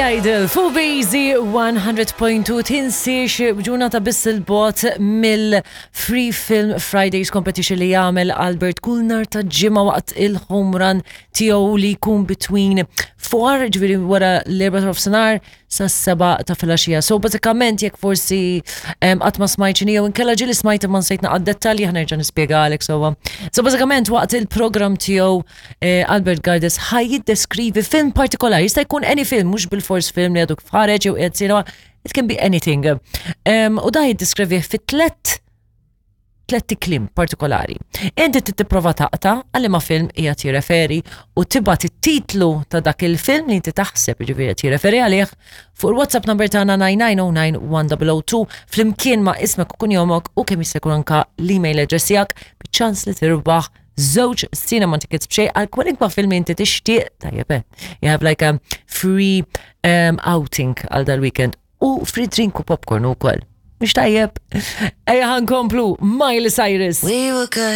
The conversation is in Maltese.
Billy Idol fuq Bazy 100.2 tinsiex ġurnata biss il-bot mill-Free Film Fridays Competition li jagħmel Albert kull nar ta' ġimgħa waqt il-home run tiegħu li jkun between 4 ġifieri wara l-erba' ta' nofsinhar sas-seba' ta' filgħaxija. So bażikament jekk forsi qatt ma smajt x'inhi jew inkella ġieli smajt imma nsejt naqgħad dettalji ħa nerġa' nispjegalek sewwa. So bażikament waqt il-programm tiegħu eh, Albert Gardes ħaj jiddeskrivi film partikolari, jista' jkun any film, mhux bil-fors film li għadu kif ħareġ jew qiegħed cinema, it can be anything. U da jiddeskrivih fi tlet tlett kliem partikolari. Inti trid tipprova taqta' għal ma film qiegħed jirreferi u tibgħat it-titlu ta' dak il-film li inti taħseb jiġifieri qed jirreferi għalih fuq il-WhatsApp number tagħna 99091002 flimkien ma' ismek u kunjomok u kemm jista' jkun anka l-email address tiegħek biċ-ċans li tirbaħ żewġ cinema tickets b'xejn għal kwalinkwa film inti tixtieq tajjeb eh. You have like a free um, outing għal dal-weekend u free drink u popcorn ukoll. Mhux tajjeb? Ejja ħankomplu Miley Cyrus. We were good.